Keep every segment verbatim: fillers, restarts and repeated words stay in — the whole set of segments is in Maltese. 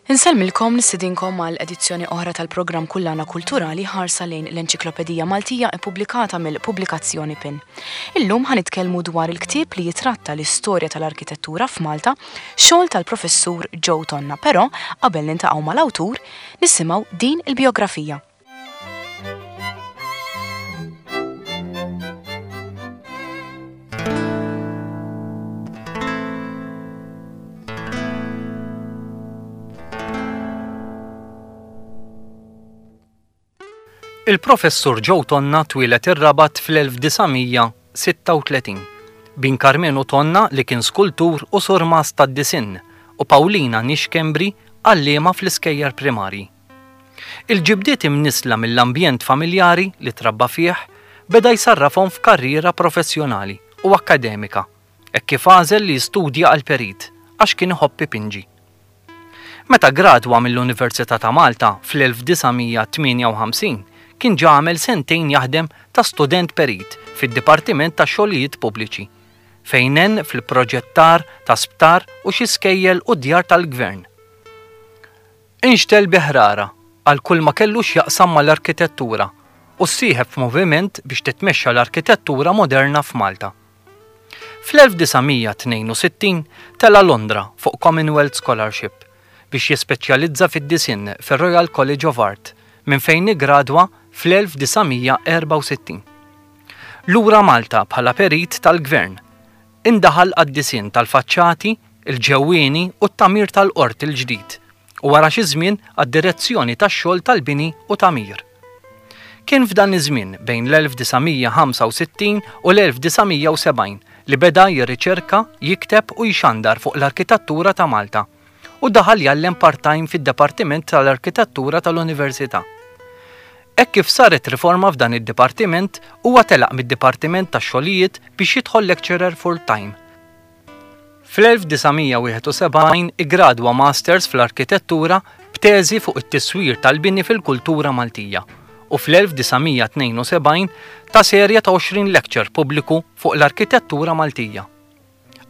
Insellmilkom, nistedinkom għal edizzjoni oħra tal-programm Kullana Kulturali, ħarsa lejn l-Enċiklopedija Maltija ippubblikata mill-Pubblikazzjoni PIN. Illum ħa nitkellmu dwar il-ktieb li jitratta l-istorja tal-arkitettura f'Malta, xogħol tal-professur Joe Tonna, però qabel niltaqgħu mal-awtur nisimgħu din il-biografija. Il-professur Joe Tonna twieled ir-Rabat fl-elf disa' mija sitta u tletin. Bin Carmenu Tonna, li kien skultur u surmast tad-disinn, u Paulina Nixkembri, għalliema fl-iskejjel primarji. Il-ġibdiet imnissla mill-ambjent familjari li trabba fih beda jsarrafhom f'karriera professjonali u akademika, e kif għażel li jistudja għal perit għax kien iħobb ipinġi. Meta gradwa mill-Università ta' Malta fl-elf disa' mija tmienja u ħamsin, kien ġa għamel sentejn jaħdem ta' student perit fid-Dipartiment ta' Xogħlijiet Pubbliċi, fejn għen fil-proġettar ta' sptar u xi skejjel u djar tal-gvern. Inxtegħel bi ħrara għal kull ma kellu x'jaqsam mal-arkitettura u ssieħeb f'moviment biex titmexxa l-arkitettura moderna f'Malta. Fl-elf disa' mija tnejn u sittin tela Londra fuq Commonwealth Scholarship biex jispeċjalizza fid-disinn fir-Royal College of Art, minn fejn igradwa fl-elf disa' mija erbgħa u sittin. Lura Malta bħala perit tal-gvern, indaħal għad-disinn tal-faċċati, il-ġewwieni u t-tagħmir tal-qorti l-ġdid u wara xi żmien għad-direzzjoni tax-xogħol tal-bini u tagħmir. Kien f'dan iż-żmien bejn l-elf disa' mija ħamsa u sittin u l-elf disa' mija sebgħin li beda jirriċerka, jikteb u jxandar fuq l-arkitettura ta' Malta u daħal jgħallem part-time fid-Dipartiment tal-Arkitettura tal-Università. Hekk kif saret riforma f'dan id-dipartiment, huwa telaq mid-Dipartiment tax-Xogħlijiet biex jidħol lecturer full-time. Fl-elf disa' mija wieħed u sebgħin igradwa Masters fl-Arkitettura b'teżi fuq it-tiswir tal-bini fil-kultura Maltija u fl-elf disa' mija tnejn u sebgħin ta serja ta' għoxrin lecture pubbliku fuq l-arkitettura Maltija.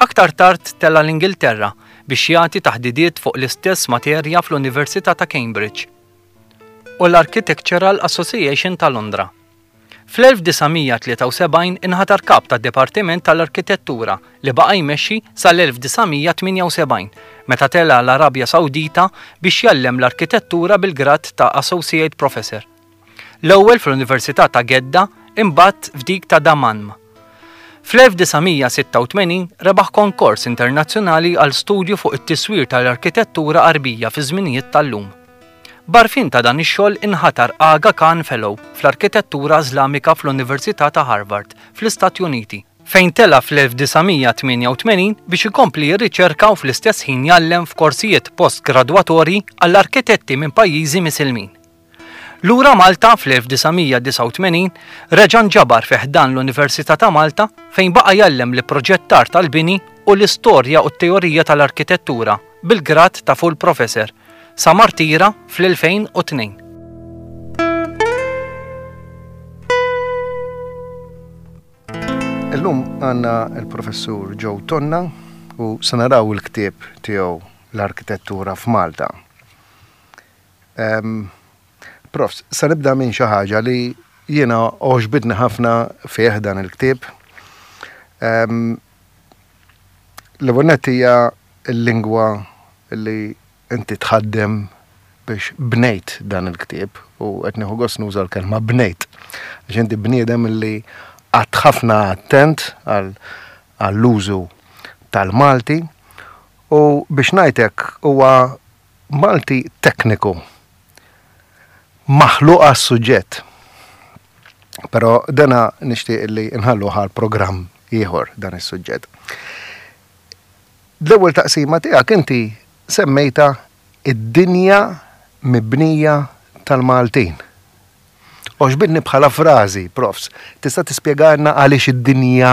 Aktar tard tela l-Ingilterra biex jagħti taħdidiet fuq l-istess materja fl-Università ta' Cambridge u l-Architectural Association ta' Londra. Fl-elf disa' mija tlieta u sebgħin inħatar kap tad Dipartiment tal-Arkitettura li baqa' jmexxi sal-elf disa' mija tmienja u sebgħin, meta tela l-Arabja Sawdita biex jgħallem l-arkitettura bil-grad ta' Associate Professor. L-ewwel fl-Università ta' Gedda, imbagħad f'dik ta' Dammam. Fl-elf disa' mija sitta u tmenin rebaħ konkors internazzjonali għal studju fuq it-tiswir tal-arkitettura Arbija fi żminijiet tal-lum. B'għarfien ta' dan ix-xogħol inħatar Aga Khan Fellow fl-Arkitettura Iżlamika fl-Università ta' Harvard fl-Istati Uniti, fejn tela fl-elf disa' mija tmienja u tmenin biex ikompli jirriċerka u fl-istess ħin jgħallem f'korsijiet postgradwatorji għall-arkitetti minn pajjiżi Misilmin. Lura Malta fl-elf disa' mija disgħa u tmenin reġa' nġabar fi ħdan l-Università ta' Malta, fejn baqa' jgħallem l-ipproġettar tal-bini u l-istorja u t-teorija tal-arkitettura bil-grad ta' full professor sa ma rtira fl-elfejn u tnejn. Illum għandna il-professur Joe Tonna u se naraw il-ktieb tiegħu L-Arkitettura f'Malta. Um, Prof, se nibda minn xi ħaġa li jiena għoġbitni ħafna fih dan il-ktieb. Um, L-ewwel hija l-lingwa li inti tħaddem biex bnejt dan il-ktieb, u qed nieħu gost nuża l-kelma bnejt. Għax inti bniedem li qgħadt ħafna attent għall-użu tal-Malti u biex ngħidlek huwa Malti tekniku maħluq għas-suġġett. Però dana nixtieq li nħallu għal programm ieħor dan is-suġġett. L-ewwel taqsima tiegħek inti semmejta Id-dinja mibnija tal-Maltin. Għoġbitni bħala frażi, profs. Tista' tispjegalna għaliex id-dinja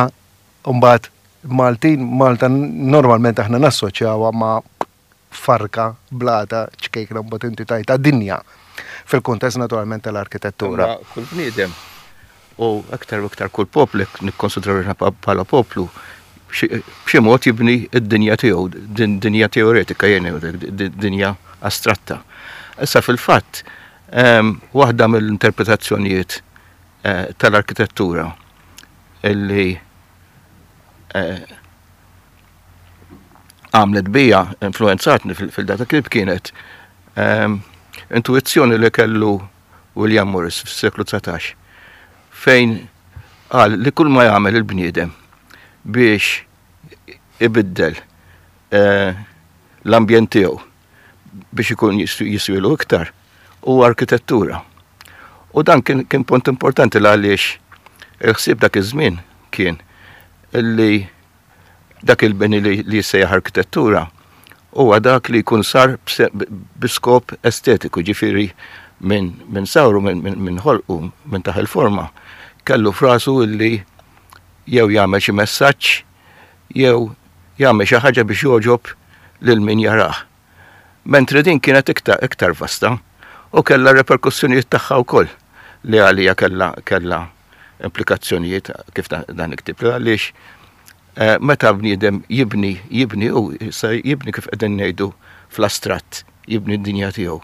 mbagħad Maltin? Malta normalment aħna nassoċjawha ma' farka, blata, ċkejkna, mbagħad inti tajta dinja. Fil-kuntest naturalment tal-arkitettura. Imma kull bniedem u aktar u aktar kull poplu, nikkonsidraw bħala poplu, b'xi mod jibni id-dinja tiegħu, din dinja teoretika jien, dinja astratta. Issa fil-fatt, ehm, waħda mill-interpretazzjonijiet eh, tal-arkitettura illi eh, għamlet bija, influenzatni fil-data kif kienet ehm, intuizzjoni li kellu William Morris fis-seklu dsatax, fejn qal li kull ma jagħmel il-bniedem biex ibiddel eh, l-ambjent tiegħu biex ikun jiswilu iktar u arkitettura. U dan kien, kien punt importanti l għaliex il-ħsieb dak iż-żmien kien illi dak il-bini li, li jissejjaħ arkitettura huwa dak li jkun sar bi skop estetiku, ġifieri minn min sawru, minn min, min ħolqu, minn taħ il-forma, kellu f'rasu illi jew jagħmel xi messaġġ jew jagħmel xi ħaġa biex jogħġob lil min jarah. Mentri din kienet iktar, iktar vasta u kellha reperkussjonijiet tagħha wkoll li għalija kellha kellha implikazzjonijiet kif dan iktib, għaliex eh, meta bniedem jibni jibni u jibni kif qegħdin ngħidu fl-astratt, jibni d-dinja tiegħu,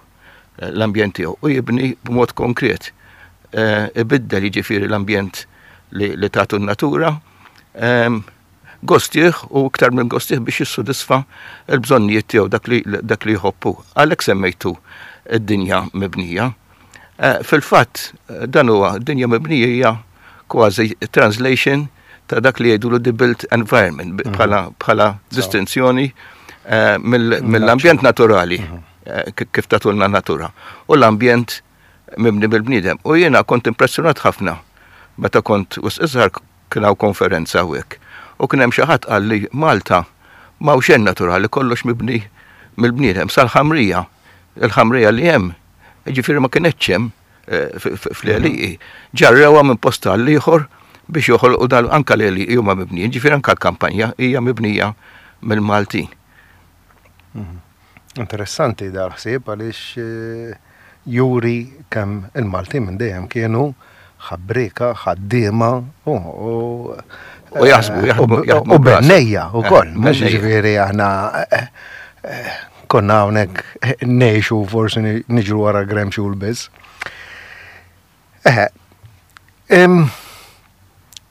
eh, l-ambjent tiegħu u jibni b'mod konkret. Eh, ibiddel jiġifieri l-ambjent li, li tagħtu n-natura, ehm, gostih u iktar minn gostih biex jissodisfa l-bżonnijiet tiegħu, dak li dak li jħobbu. Għalhekk semmejtu id-dinja mibnija. Eh, fil-fatt dan huwa dinja mibnija hija kważi translation ta' dak li jgħidu the built environment mhm. bħala bħala distinzjoni eh, mill-ambjent naturali mhm. eh, kif tatulna natura u l-ambjent mibni bil-bniedem. U jiena kont impressjonat ħafna meta kont wisq iżgħar, kien hawn konferenza hawnhekk. U kien hemm xi ħadd qal li Malta m'hawn xejn naturali, kollox mibni mill-bniedem sal-ħamrija. Il-ħamrija li hemm, ġifieri ma kienx hemm eh, fl-għelieqi. Ġarrewha minn post għal ieħor biex joħolqu dal anka l-għelieqi huma mibnijin, ġifieri anka l-kampanja hija mibnija mill-Maltin. Mhm. Interessanti dal-ħsieb għaliex eh, juri kemm il-Maltin minn dejjem kienu ħabrika, ħaddiema u U jaħsbu, jaħdmu, u bennejja u koll, mhux ġifieri aħna eh, eh, konna hawnhekk ngħixu forsi niġru wara gremxul biss. Eħe,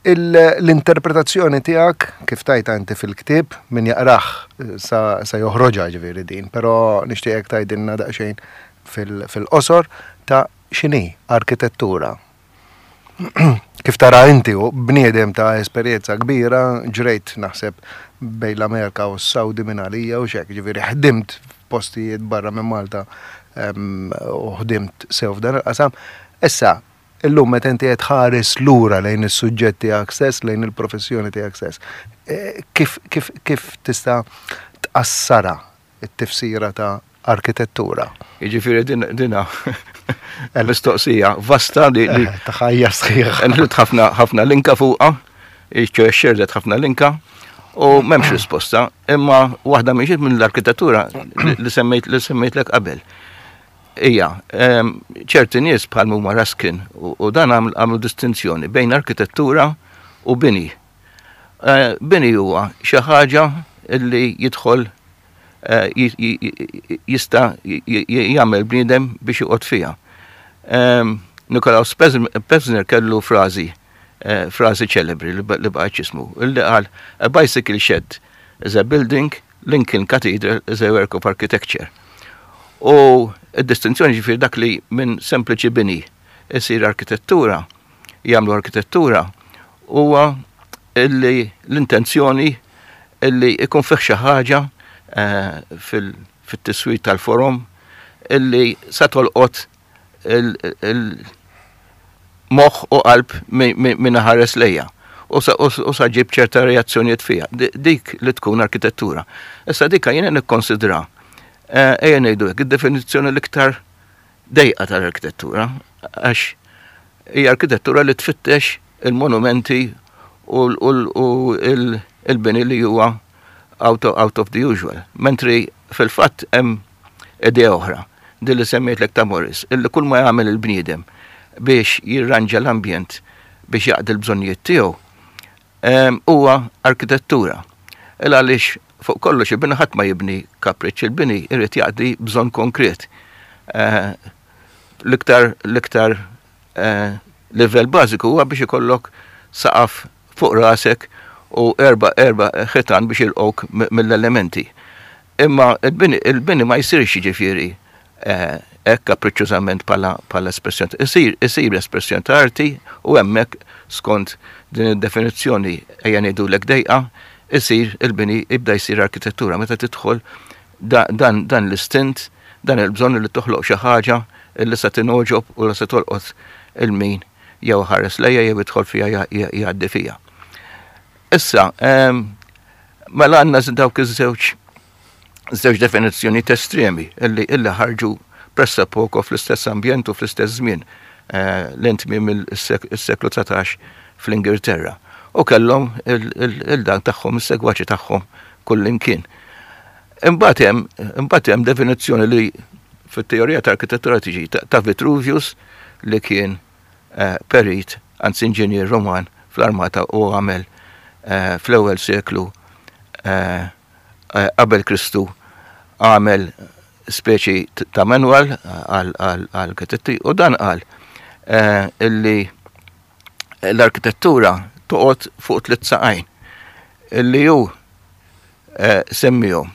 l-interpretazzjoni tiegħek kif tajta inti fil-ktieb, min jaqrah sa, sa joħroġha ġifieri din, però nixtieqek tgħidilna daqsxejn fil-qosor ta' x'inhi arkitettura. Kif tara inti u bniedem ta' esperjenza kbira, ġrejt naħseb bejn l-Amerika u s-Saudi minn għalija u xek, ġifieri ħdimt f'postijiet barra minn Malta u ħdimt sew f'dan il-qasam. Issa, illum meta inti qed tħares lura lejn is-suġġett tiegħek stess, lejn il-professjoni tiegħek stess, eh, kif, kif, kif tista' tqassara it-tifsira ta' arkitettura? Jiġifieri dina mistoqsija vasta li eh, ta' ħajja sħiħ. Nħlut ħafna ħafna linka fuqha, xerdet ħafna linka u m'hemmx risposta, imma waħda minn minn l-arkitettura li semmejt li semmejtlek qabel. Ija, ċerti nies bħal huma Ruskin u dan għamlu distinzjoni bejn arkitettura u bini. Eh, bini huwa xi ħaġa li jidħol eh, jista' jagħmel bniedem biex joqgħod fiha. Nikolaus Pevsner kellu frażi eh, frażi ċelebri li baqgħet jismu, illi qal: "A bicycle shed is a building, Lincoln Cathedral is a work of architecture." U id-distinzjoni ġifieri dak li minn sempliċi bini isir arkitettura, jagħmlu arkitettura, huwa illi l-intenzjoni illi ikun fih xi ħaġa eh, fil-tiswir tal-forom illi sa tolqot il-moħħ u qalb minn ħares lejja u sa ġib ċerta reazzjonijiet fija. Dik li tkun arkitettura. Issa dika jiena nikkonsidra, eh, ejja ngħidu hekk, id-definizzjoni l-iktar dejqa tal-arkitettura, għax hija arkitettura li tfittex il-monumenti u il-bini li huwa out of, out of the usual. Mentri fil-fatt hemm idea oħra, din li semmejtlek ta' Morris, illi kull ma jagħmel il-bniedem biex jirranġa l-ambjent biex jaqdi l-bżonnijiet tiegħu huwa arkitettura. Il għaliex Fuq kollox il-bini ħadd ma jibni kapriċċ, il-bini irid jaqdi bżonn konkret. Eh, l-iktar l-iktar eh, livell bażiku huwa biex ikollok saqaf fuq rasek u erba erba ħitan biex jilqgħuk mill-elementi. Imma il-bini, il-bini ma jsirx jiġifieri eh, hekk kapriċċużament bħala espressjoni. Isir, isir espressjoni ta' arti u hemmhekk skont din id-definizzjoni ejja ngħidulek dejqa, isir il-bini jibda jsir arkitettura meta tidħol dan, dan l-istint, dan il-bżonn li toħloq xi ħaġa illi se tingħoġob u li se tolqot il-min jew ħares lejha jew idħol fiha jgħaddi fiha. Issa, mela għandna dawk iż-żewġ żewġ definizzjoni estremi illi illi ħarġu pressappoco fl-istess ambjent u fl-istess żmien eh, l-intmi mill-seklu dsatax fl-Ingilterra. U kellhom il-dan tagħhom, is-segwaċi tagħhom kullimkien. Imbagħad hemm imbagħad hemm definizzjoni li fit-teorija ta' arkitettura tiġi ta' Vitruvius li kien eh, perit, anzi inġinier Roman fl-armata u għamel eh, fl-ewwel seklu eh, qabel Kristu għamel speċi ta' manual għal arkitetti u dan qal illi l-arkitettura toqgħod fuq tliet saqajn illi hu semmihom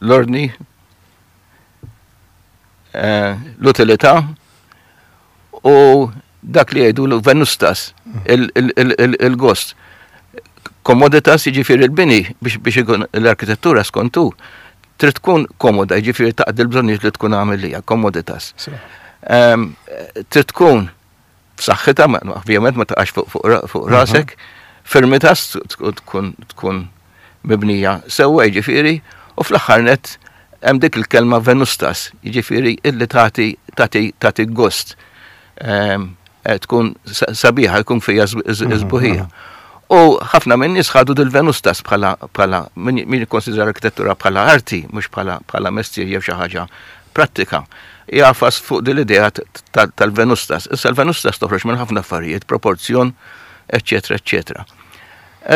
l-ordni, l-utilità u dak li jgħidu l-venustas, il-gost. Komoditas jiġifieri il-bini biex ikun l-arkitettura skontu trid tkun komoda, jiġifieri taqdi l-bżonnijiet li tkun għamilija, komoditas. Trid tkun b'saħħitha, ovvjament ma taqax fuq rasek, firmitas tkun tkun mibnija sewwa jiġifieri, u fl-aħħar nett hemm dik il-kelma venustas, jiġifieri illi tagħti tagħti tagħti gost. Tkun sabiħa, jkun fija sbuħija. U ħafna minn nies ħadu dil-venustas bħala bħala min jikkonsidra l-arkitettura bħala arti, mhux bħala bħala mestier jew xi ħaġa prattika. Jafas fuq din l-idea tal-venustas. Issa l-venustas toħroġ minn ħafna affarijiet, proporzjon, eċċetera, eċċetera.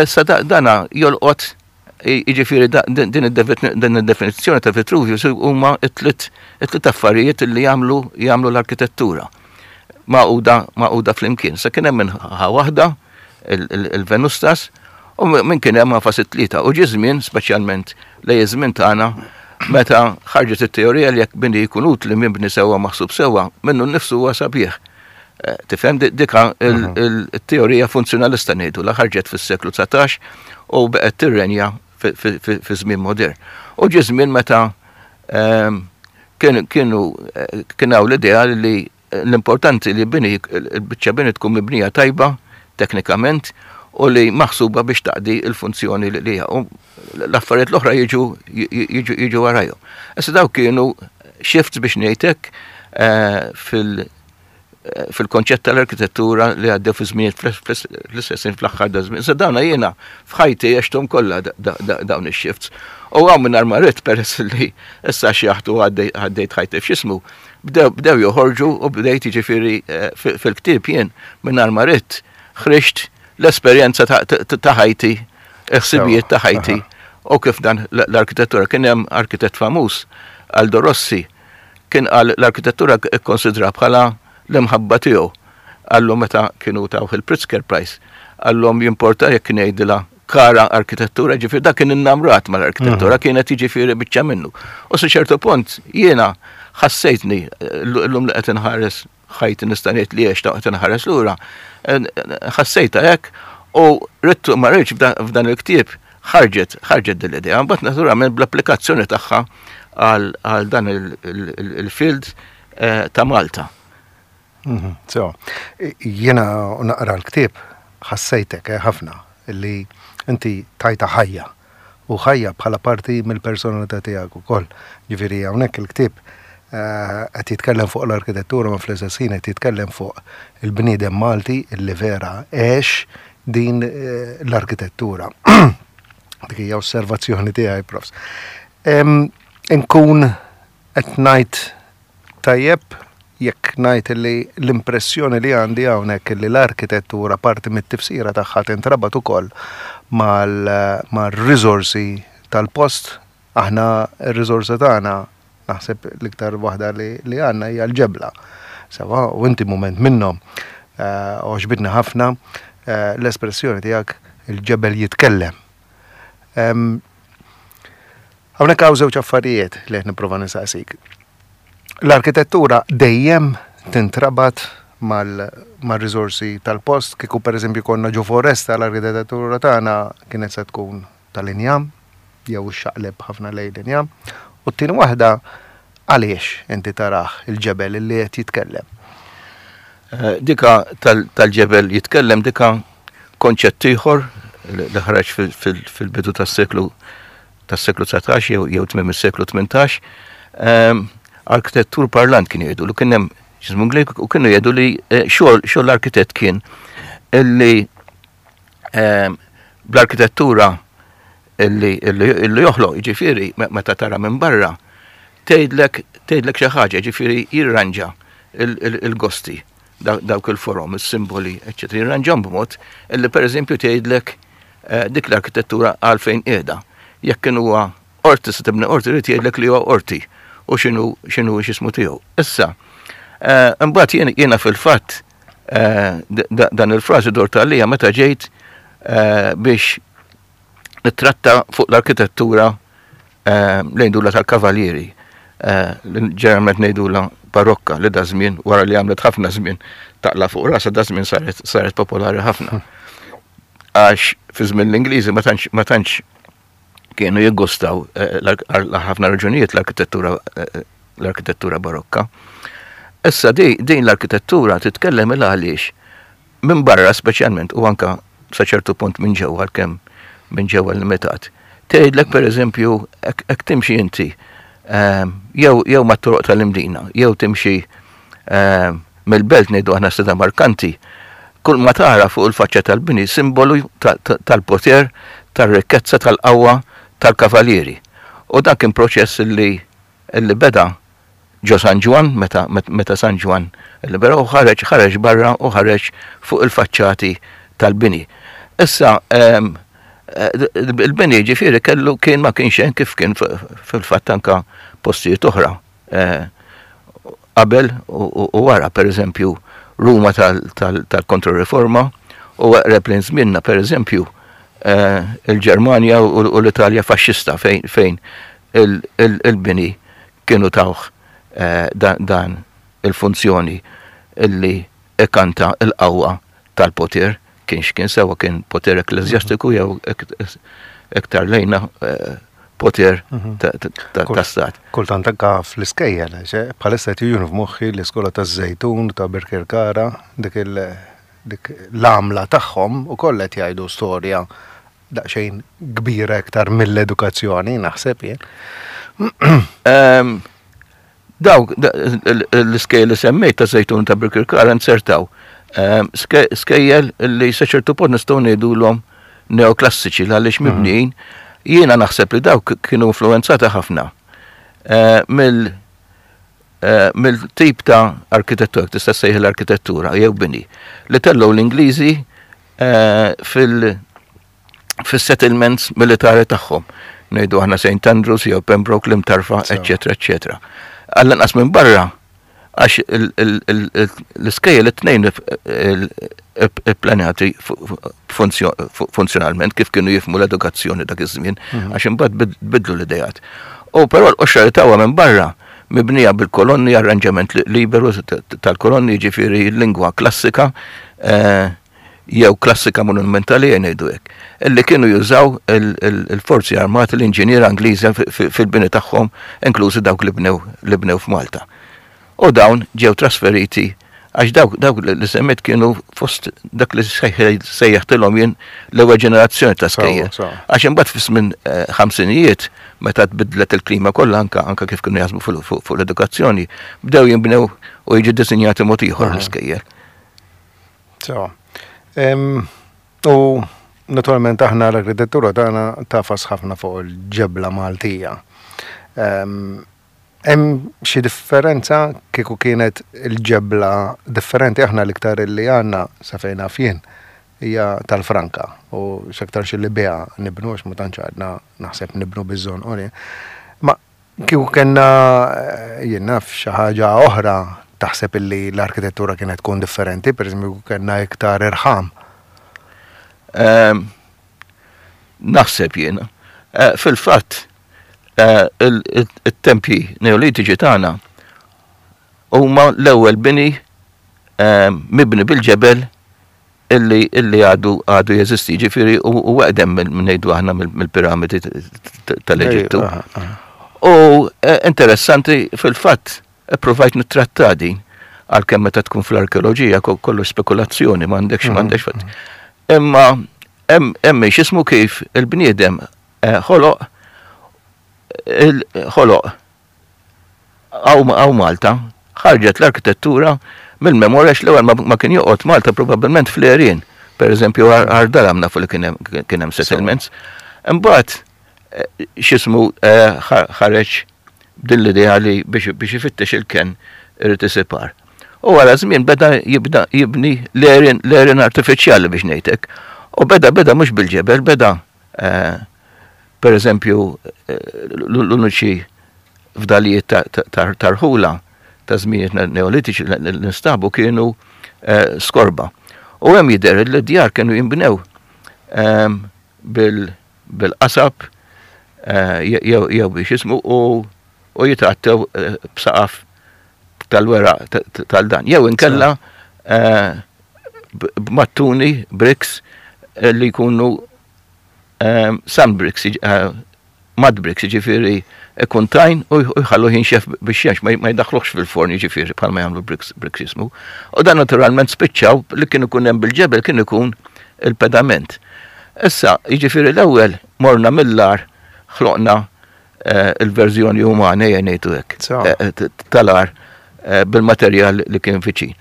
Issa dana jolqot jiġifieri din id-definizzjoni ta' Vitruvius huma t-tliet affarijiet li jagħmlu jagħmlu l-arkitettura. Magħquda magħquda flimkien. Sa kien hemm minn ħa waħda il-Venustas u minn kien hemm għafas it-tlieta. U ġie żmien, speċjalment lejn iż-żmien tagħna, meta ħarġet it-teorija li jekk bini jkun utli mibni sewwa maħsub sewwa, minnu nnifsu huwa sabiħ. Tifhem dika il-teorija funzjonalista ngħidu la ħarġet fis-seklu dsatax u baqgħet tirrenja fi żmien modern. U ġie żmien meta kienu kien hawn l-idea li l-importanti li bini il-biċċa bini tkun mibnija tajba teknikament u li maħsuba biex taqdi il-funzjoni li hija. U l-affarijiet l-oħra jiġu jiġu warajhom. Issa dawk kienu shifts biex ngħidlek fil- fil-konċett tal-arkitettura li għaddew fi żmien fl-istess fl-aħħar da żmien. Issa dawna jiena f'ħajti għexthom kollha dawn ix-shifts. U hawn minn ma rrid peress li issa xjaħtu għaddejt ħajti f'xismu, bdew joħorġu u bdejt jiġifieri fil-ktieb jien minn ma rrid ħriġt l-esperjenza ta' ħajti, il-ħsibijiet ta' ħajti u kif dan l-arkitettura. Kien hemm arkitett famuż, Aldo Rossi, kien qal l-arkitettura ikkonsidra bħala l-imħabba tiegħu. Għallu meta kienu tawh il-Pritzker Prize, għallhom jimporta jekk kien jgħidilha kara arkitettura, ġifieri dak kien innamrat mal-arkitettura, kienet jiġifieri biċċa minnu. U sa ċertu punt jiena ħassejtni llum li qed inħares ħajti nista' ngħid li għex qed inħares lura, ħassejtha hekk u ridtu ma rridx f'dan il-ktieb ħarġet ħarġet din l-idea. Mbagħad naturalment bl-applikazzjoni tagħha għal dan il-field ta' Malta. So, jiena naqra l-ktieb ħassejtek ħafna li inti tajta ħajja u ħajja bħala parti mill-personalità tiegħek ukoll. Ġifieri hawnhekk il-ktieb qed jitkellem fuq l-arkitettura ma fl-istess ħin qed jitkellem fuq il-bniedem Malti illi vera għex din l-arkitettura. Dik hija osservazzjoni tiegħi, profs. Inkun qed ngħid tajjeb Jekk ngħid li l-impressjoni li għandi hawnhekk li l-arkitettura parti mit-tifsira tagħha tintrabat ukoll mal-riżorsi tal-post, aħna r-riżorsi tagħna naħseb l-iktar waħda li għandna hija l-ġebla. Sewwa, u inti mument minnhom għoġbitni ħafna l-espressjoni tiegħek il-ġebel jitkellem. Hawnhekk hawn żewġ affarijiet li qed nipprova nistaqsik. L-arkitettura dejjem tintrabat mal-riżorsi tal-post, kieku pereżempju konna ġo foresta l-arkitettura tagħna kienet se tkun tal-injam, jew ixxaqleb ħafna lejn l-injam. U t-tieni waħda, għaliex inti tarah il-ġebel li qed jitkellem? Dika tal-ġebel jitkellem dika konċett ieħor li ħareġ fil-bidu tas-seklu tas-seklu dsatax jew tmiem is-seklu tmintax. Arkitettur parlant kien jgħidu li kien hemm x'ismu Ingliż u kienu jgħidu li xogħol xogħol l-arkitett kien illi bl-arkitettura illi illi joħloq, jiġifieri meta tara minn barra tgħidlek tgħidlek xi ħaġa, jiġifieri jirranġa il-gosti dawk il-forom, is-simboli, eċċetera, jirranġahom b'mod illi pereżempju tgħidlek dik l-arkitettura għalfejn qiegħda. Jekk kien huwa qorti se tibni qorti irid jgħidlek li huwa qorti u x'inhu x'inhu x'ismu tiegħu. Issa, imbagħad jiena fil-fatt dan il-frażi dort għalija meta ġejt biex nittratta fuq l-arkitettura li ngħidulha tal-kavallieri, li ġeneralment ngħidulha barokka, li da żmien wara li għamlet ħafna żmien taqla fuq rasha da żmien saret saret popolari ħafna. Għax fi żmien l-Ingliżi ma tantx ma tantx kienu jiggustaw għal ħafna raġunijiet l-arkitettura l-arkitettura barokka. Issa din l-arkitettura titkellem il għaliex minn barra speċjalment u anka sa ċertu punt minn ġewwa għalkemm minn ġewwa limitat. Tgħidlek pereżempju hekk timxi inti jew jew mat-toroq tal-Imdina, jew timxi mill-belt ngħidu aħna Strada Markanti, kull ma tara fuq il-faċċa tal-bini simbolu tal-poter, tar-rikkezza, tal-qawwa tal-kavallieri. U dan kien proċess li li beda ġo San Ġwann meta meta San Ġwann libera u ħareġ ħareġ barra u ħareġ fuq il-faċċati tal-bini. Issa il-bini ġifieri kellu kien ma kienx hemm kif kien fil-fatt anka postijiet oħra qabel u wara, pereżempju Ruma tal-Kontroriforma u eqreb lejn żmienna pereżempju il-Ġermanja u l-Italja faxxista fejn il-bini kienu tawh dan il-funzjoni illi ikanta l-qawwa tal-poter, kien x'kien sewa kien poter ekkleżjastiku jew iktar lejna poter ta' stat. Kultant anka fl-iskejjel, bħalissa qed jiġuni f'moħħi l-iskola taż-Żejtun ta' Birkirkara, dik dik l-għamla tagħhom ukoll qed jgħidu storja daqsxejn kbira iktar mill-edukazzjoni, naħseb jien. Dawk l-iskejjel li semmejt ta' Żejtun ta' Birkirkara nzertaw skejjel li sa ċertu punt nistgħu ngħidulhom neoklassiċi għaliex mibnijin. Jiena naħseb li dawk kienu influenzati ħafna mill mill-tip ta' arkitettura, tista' ssejjaħ l-arkitettura jew bini, li tellgħu l-Ingliżi fil fis-settlements militari tagħhom. Ngħidu aħna Saint Andrews jew Pembroke, l-Imtarfa, eċċetera, eċċetera. Għall-anqas minn barra, għax l-iskejjel it-tnejn ipplanjati funzjonalment kif kienu jifhmu l-edukazzjoni dak iż-żmien, għax imbagħad bidlu l-ideat. U però l-qoxra li tawha minn barra mibnija bil-kolonni, arranġament liberu tal-kolonni, jiġifieri lingwa klassika jew klassika monumentali ngħidu hekk, illi kienu jużaw il-forzi armati, l-inġiniera Ingliża fil-bini tagħhom, inklużi dawk li bnew li bnew f'Malta. U dawn ġew trasferiti għax dawk dawk li semmejt kienu fost dak li sejjaħtilhom jien l-ewwel ġenerazzjoni ta' skejjel. Għax imbagħad fi żmien ħamsinijiet meta tbiddlet il-klima kollha anka anka kif kienu jaħsbu fuq l-edukazzjoni, bdew jinbnew u jiġu ddisinjati mod ieħor l-iskejjel. Sewa. U naturalment aħna l-arkitettura tagħna tafas ħafna fuq il-ġebla Maltija. Hemm xi differenza kieku kienet il-ġebla differenti? Aħna l-iktar li għandna, sa fejn naf jien, hija tal-franka u x'aktarx li biha nibnu, għax ma tantx għadna naħseb nibnu biż-żonqor. Ma kieku kellna, jien naf, xi ħaġa oħra, taħseb illi l-arkitettura kienet tkun differenti, per eżempju kellna iktar irħam? Ehm, naħseb jiena. Eh, fil-fatt, eh, il-tempji neolitiċi tagħna huma l-ewwel bini ehm, mibni bil-ġebel illi illi għadu għadu jeżisti, ġifieri u eqdem minn, ngħidu aħna, mill-piramidi tal-Eġittu. U eh, interessanti, fil-fatt, provajt nittratta din, għalkemm meta tkun fl-arkeoloġija kollu spekulazzjoni, m'għandekx m'għandekx fatt. Imma hemm x'ismu, kif il-bniedem eh, ħoloq ħoloq hawn Malta, ħarġet l-arkitettura mill-memorja, l-ewwel ma kien joqgħod Malta probabbilment fl-għerien. Per eżempju, Għar Dalam nafu li kien hemm settlements. Imbagħad eh, x'ismu eh, ħareġ din l-idea li biex ifittex il-ken irid isib għar. U wara żmien beda jibda jibni l-għerien artifiċjali, biex ngħidlek. U beda beda mhux bil-ġebel, beda eh, per eżempju l-uniċi fdalijiet tar-rħula ta' żminijiet neolitiċi li nstabu kienu eh, Skorba. U hemm jidher li d-djar kienu jinbnew ehm, bil-qasab eh, jew biex jismu u jitgħattew eh, b'saqaf tal-weraq tal-dan. Jew inkella b'mattuni, bricks li jkunu ehm, sand bricks, mud bricks, ġifieri ikun tajn u jħallu jinxef biex ma jdaħħluhx fil-forn, ġifieri bħalma jagħmlu bricks bricks jismu. U dan naturalment spiċċaw li kien ikun hemm bil-ġebel kien ikun il-pedament. Issa, jiġifieri l-ewwel morna mill-għar, ħloqna eh, il-verżjoni umana, ngħidu hekk, eh, tal-għar eh, bil-materjal li kien viċin.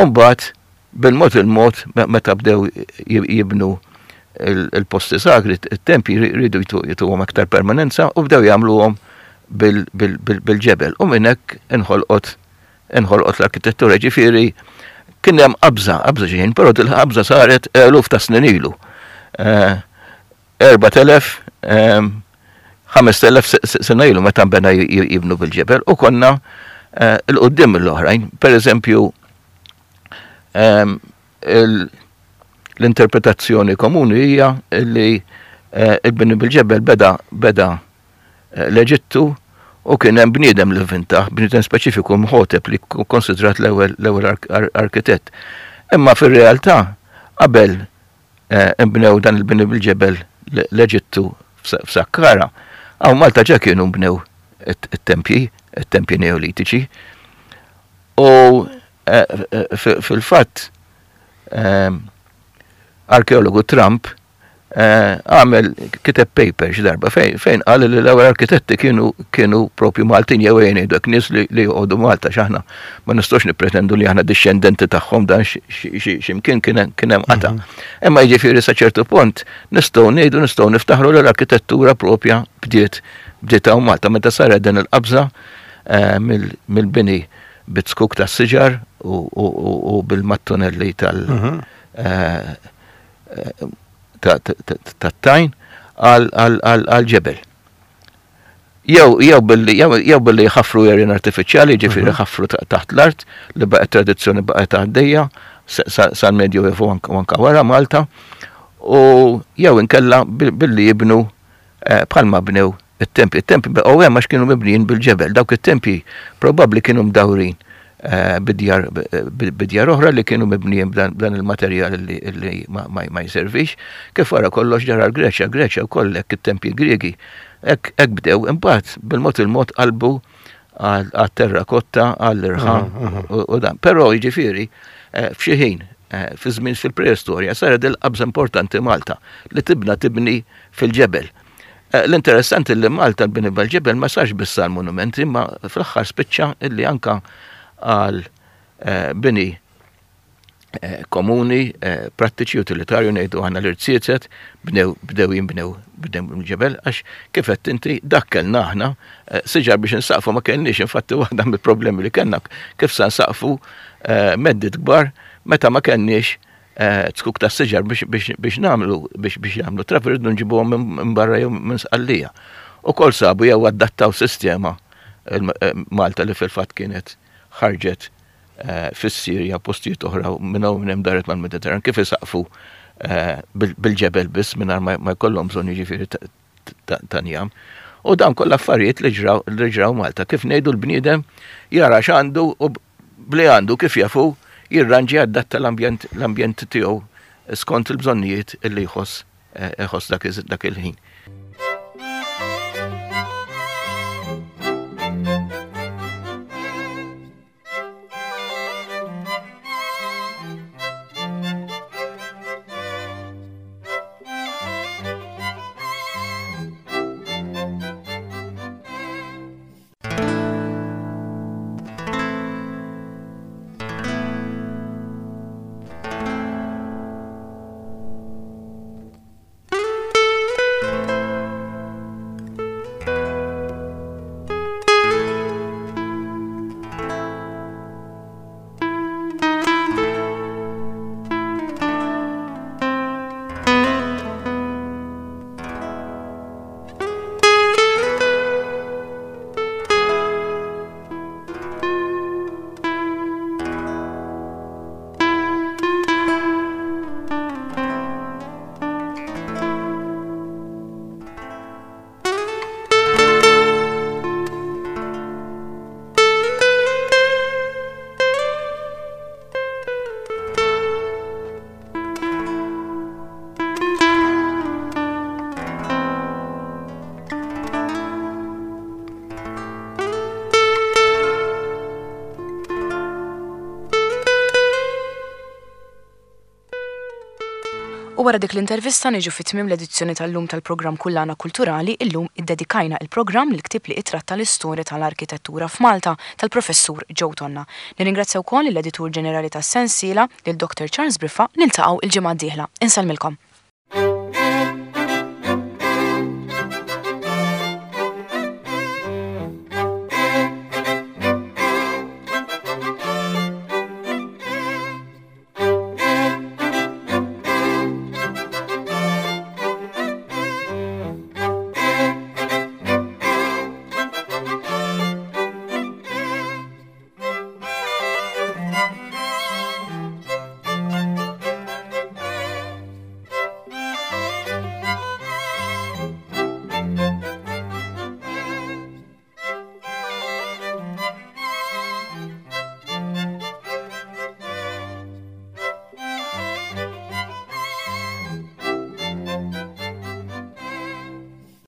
Umbagħad bil-mod il-mod, meta bdew jibnu il-posti sagri, il-tempji, rridu jtuhom aktar permanenza u bdew jagħmluhom bil-ġebel. U minn hekk inħolqot inħolqot l-arkitettura, ġifieri kien hemm qabża, qabża ġejjin, però il-qabża saret eluf ta' snin ilu. Erbat elef, ħamest elef sena ilu meta bena jibnu bil-ġebel u konna 'il quddiem mill-oħrajn. Per eżempju, l-interpretazzjoni komuni hija li il-bini bil-ġebel beda beda l-Eġittu u kien hemm bniedem li vvinta, bniedem speċifiku, Imħotep, li konsidrat l-ewwel l-ewwel arkitett. Imma fir-realtà qabel imbnew dan il-bini bil-ġebel l-Eġittu f'Sakkara, hawn Malta ġa kienu mbnew it-tempji, it-tempji neolitiċi. U fil-fatt arkeologu Trump għamel, kiteb paper xi darba fejn qal li l-ewwel arkitetti kienu kienu propju Maltin, jew ngħidu hekk, nies li joqogħdu Malta, x'aħna ma nistgħux nippretendu li aħna dixxendenti tagħhom, dan x'imkien kien hemm qata. Imma jiġifieri sa ċertu punt nistgħu ngħidu, nistgħu niftaħru li l-arkitettura propja bdiet bdiet hawn Malta meta saret din il-qabża mill-bini bit-zkuk tas-siġar u bil-mattunelli tal- tat-tajn għal-ġebel. Jew jew billi jew billi jħaffru għerien artifiċjali, ġifieri ħaffru taħt l-art, li baqgħet tradizzjoni, baqgħet għaddejja sal-Medju Evu anka wara Malta, u jew inkella billi jibnu bħalma bnew it-tempji. It-tempji baqgħu hemm għax kienu mibnijin bil-ġebel. Dawk it-tempji probabbli kienu mdawrin bidjar oħra li kienu mibnijin b'dan il-materjal li ma jservix. Kif wara kollox ġara l-Greċja, Greċja wkoll hekk, it-tempji Griegi hekk bdew, imbagħad bil-mod il-mod qalbu għat-terrakotta, għall-irħam u dan. Però jiġifieri f'xi ħin fi żmien fil-preistorja saret il-qabża importanti Malta li tibna tibni fil-ġebel. L-interessanti li Malta l-bini bil-ġebel ma sarx biss għal monumenti, ma fl-aħħar spiċċa illi anka għal bini eh, komuni, eh, prattiċi, utilitarju, ngħidu aħna l-irziezet, bnew bdew jinbnew bdew mill-ġebel, għax kif qed inti dak kellna aħna, eh, siġar biex insaqfu ma kellniex, infatti waħda mill-problemi li kellna kif sa nsaqfu meddiet kbar meta ma kellniex zkuk ta' siġar biex biex nagħmlu biex biex jagħmlu travi rridu nġibuhom minn barra jew minn Sqallija. Ukoll sabu jew adattaw sistema Malta li fil-fatt kienet ħarġet fis-Sirja postijiet oħra minn hawn minn hemm daret mal-Mediterran kif isaqfu bil-ġebel biss mingħajr ma jkollhom bżonn jiġifieri ta' njam. U dan kollha affarijiet li ġraw li ġraw Malta. Kif ngħidu l-bniedem jara x'għandu u bli għandu kif jafu jirranġi adatta l-ambjent l-ambjent tiegħu skont il-bżonnijiet li jħoss iħoss dak il-ħin. U wara dik l-intervista niġu fi tmiem l-edizzjoni tal-lum tal-programm Kullana Kulturali. Illum iddedikajna il-programm lill-ktieb li ittratta l-istorja tal-arkitettura f'Malta tal-professur Joe Tonna. Nirringrazzja wkoll l-editur ġenerali tas-sensiela, lil Doctor Charles Briffa. Niltaqgħu il-ġimgħa d-dieħla. Insellmilkom.